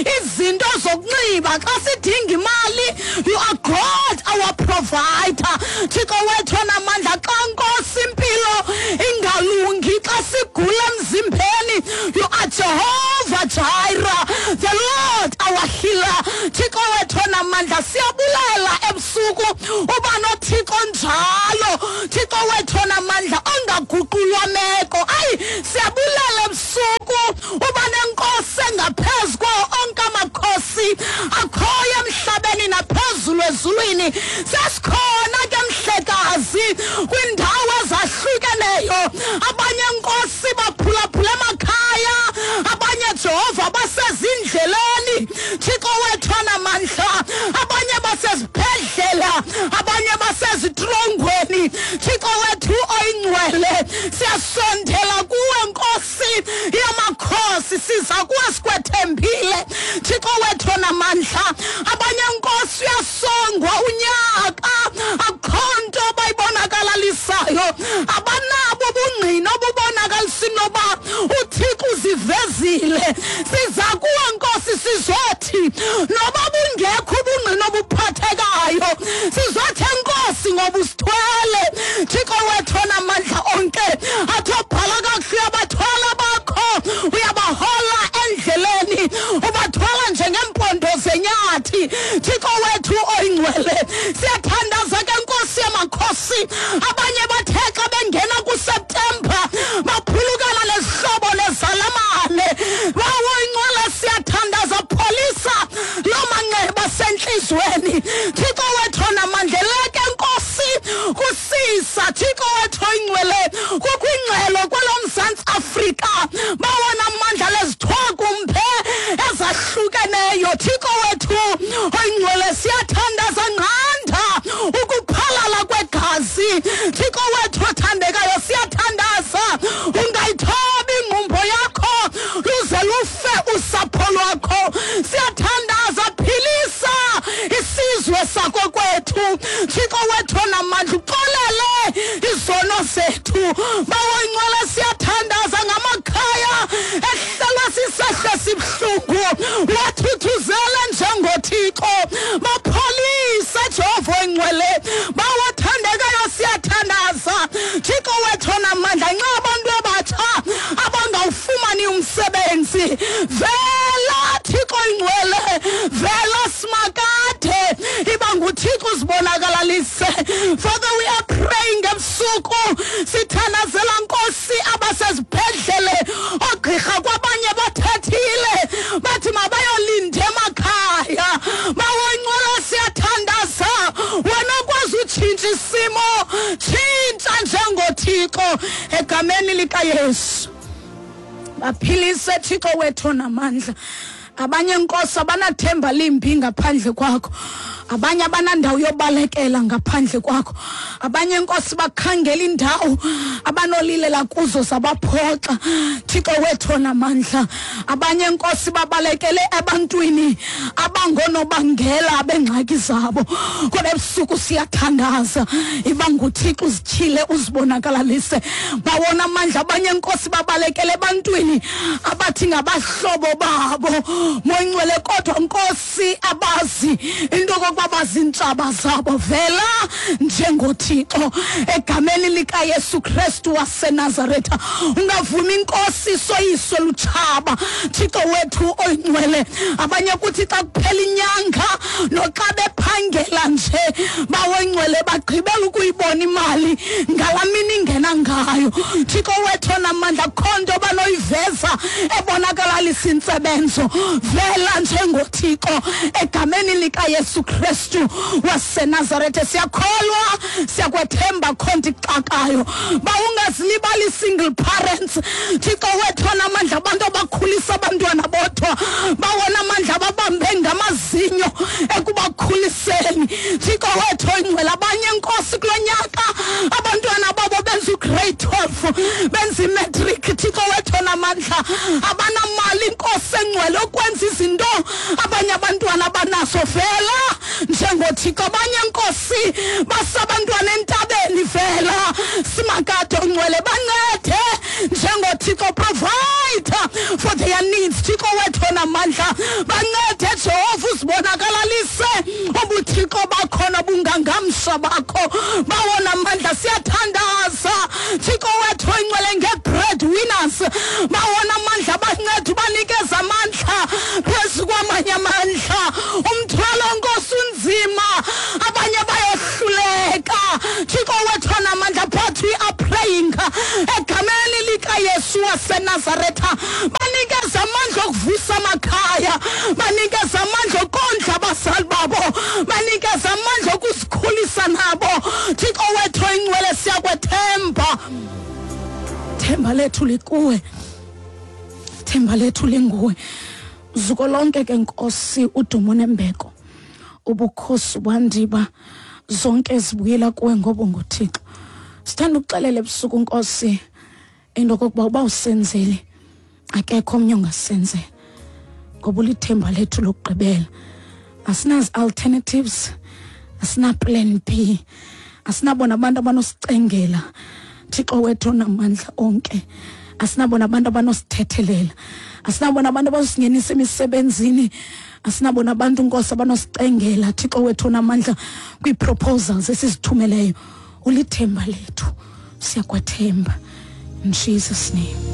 izinto zokunxiba, xa sidinga imali, you are God our provider. Thixo wethu onamandla, xa Nkosi impilo ingalungi, xa sigula emzimbeni, you are Jehovah Jireh, the Lord our healer. Thixo wethu onamandla, siyabulela ebusuku uba noThixo njalo. Thixo wethu onamandla ongaguqulwa meko. Ayi, siyabulela ebusuku uba nenkosi engaphezu kwawo onke amakhosi akhoyo emhlabeni naphezulu ezulwini. Sesikhona ke mhlekazi kwiindawo ezahlukeneyo. Abanye nkosi baphulaphula emakhaya, abanye Jehova basezindleleni. Thixo wethu onamandla, abanye basezibhedlela, abanye basezitrongweni. Thixo wethu oyingcwele, siyasondela kuwe Nkosi yamakhosi, siza kuwe sikwethembile. Thixo wethu onamandla, abanye Nkosi uyasongwa unyaka, akukho nto bayibonakalalisayo, abanabo ubungqina obubonakalisa inoba uThixo uzivezile. Siza kuwe Nkosi sizothi noba bungekho ubungqina obuphathekayo, sizothi enkosi ngoba usithwele. Thixo wethu onamandla onke, athi obhala kakuhle uyabathwala bakho, uyabahola endleleni, ubathwala njengeempondo zenyathi. Thixo wethu oyingcwele, siyathandaza ke Nkosi yamakhosi. Abanye bathe xa bengena kuSeptemba baphulukana nezihlobo nezalamane. Bawo oyingcwele, siyathandaza, pholisa loo manxeba asentliziyweni. Thixo wethu onamandla, eleke Nkosi kusisa. Thixo wethu oyingcwele, kukho ingxelo kwelo Mzantsi Afrika, bawona amandla lezithwakumbe ezahlukeneyo. Thixo wethu oyingcwele, siyathandaza, nqanda ukuphalala kwegazi. Thixo wethu othandekayo, siyathandaza, ungayithobi ingqumbo yakho luze lufe usapho lwakho. Siyathandaza, philisa isizwe sakokwethu. Thixo wethu onamandla, uxolele izono zethu. Bawo ingcwele, siyathandaza ngamakhaya ehlelwa sisehlo esibuhlungu, wathuthuzele njengoThixo, bapholise Jehova oyingcwele. Bawo othandekayo, siyathandaza, Thixo wethu onamandla, nxa abantu abatsha abangawufumani umsebenzi, vela Thixo oyingcwele, vela simakade, iba nguThixo uzibonakalalise. Father, we are praying ebusuku, sithandazela Nkosi abasezibhedlele, oogqirha kwabanye bathethile bathi mabayolinda emakhaya. Bawo ingcwele, siyathandaza, wena okwazi utshintsha isimo, tshintsha njengoThixo egameni likaYesu. Baphilise Thixo wethu onamandla. Abanye Nkosi abanathemba limbi ngaphandle kwakho, abanye abanandawo yobalekela ngaphandle kwakho, abanye Nkosi bakhangela indawo abanolilela kuzo zabaphoxa. Thixo wethu onamandla, abanye Nkosi babalekele ebantwini abangonobangela bengxaki zabo. Kodwa ebusuku siyathandaza, iba nguThixo uzityhile uzibonakalalise. Bawona amandla, abanye Nkosi babalekele ebantwini abathi ngabahlobo babo, Moyingcwele, kodwa Nkosi abazi into okokuba bazintshaba zabo. Vela njengoThixo egameni likaYesu Kristu waseNazaretha. Ungavumi Nkosi soyiswe lutshaba. Thixo wethu oyingcwele, abanye kuthi xa kuphela inyanga noxa bephangela nje, bawo ingcwele, bagqibela ukuyibona imali ngalaa mini ingena ngayo. Thixo wethu onamandla, akukho nto banoyiveza ebonakalalisa intsebenzo. Vela njengoThixo egameni likaYesu Kristu waseNazarethe. Siyakholwa, siyakwethemba, kho nto ixakayo. Bawungazilibali single parents, Thixo wethu onamandla, abantu abakhulisa abantwana bodwa, bawona amandla ababambe ngamazinyo ekubakhuliseni. Thixo wethu oyingcwele, abanye Nkosi kulo nyaka abantwana babo benza ugrade 12, benza imatric. Thixo wethu onamandla, abanamali Nkosi engcwele okwenza izinto abanye abantwana abanazo. Vela njengoThixo. Abanye Nkosi basabantwana entabeni, vela simakade ongcwele, bancede njengoThixo. Provide for their needs. Thixo wethu onamandla, bancede Jehova, uzibonakalalise ubuthixo bakho nobungangamsha bakho. Bawona mandla, siyathandaza Thixo wethu oyingcwele nge-bread winners. Bawona mandla, bancede, ubanikeza amandla phezu kwamanye amandla. Umthwalo, Nkosi, unzima, abanye bayohluleka, Thixo wethu onamandla, but we are praying egameni likaYesu waseNazaretha, banikeza amandla okuvusa amakhaya, banikeza amandla okondla abazali babo, banikeza amandla okusikhulisa nabo. Thixo wethu oyingcwele, siyakwethemba, themba lethu likuwe, themba lethu linguwe. Zuko lonke ke, Nkosi, udumo nembeko, ubukhosi, bwandiba, zonke zibuyela kuwe ngoba nguThixo. Sithanda ukuxelela ebusuku, Nkosi, into kokuba uba usenzele, akekho omnye ongasenzela, ngoba ulithemba lethu lokugqibela. Asinazi alternatives, asina plan B, asinabona abantu abanosicengela, Thixo wethu onamandla onke, asinabona abantu abanosithethelela, asinabona abantu abanosingenisa emisebenzini, asinabona abantu, Nkosi, abanosicengela, Thixo wethu onamandla, kwii-proposals esizithumeleyo. Ulithemba lethu, siyakwethemba. In Jesus' name.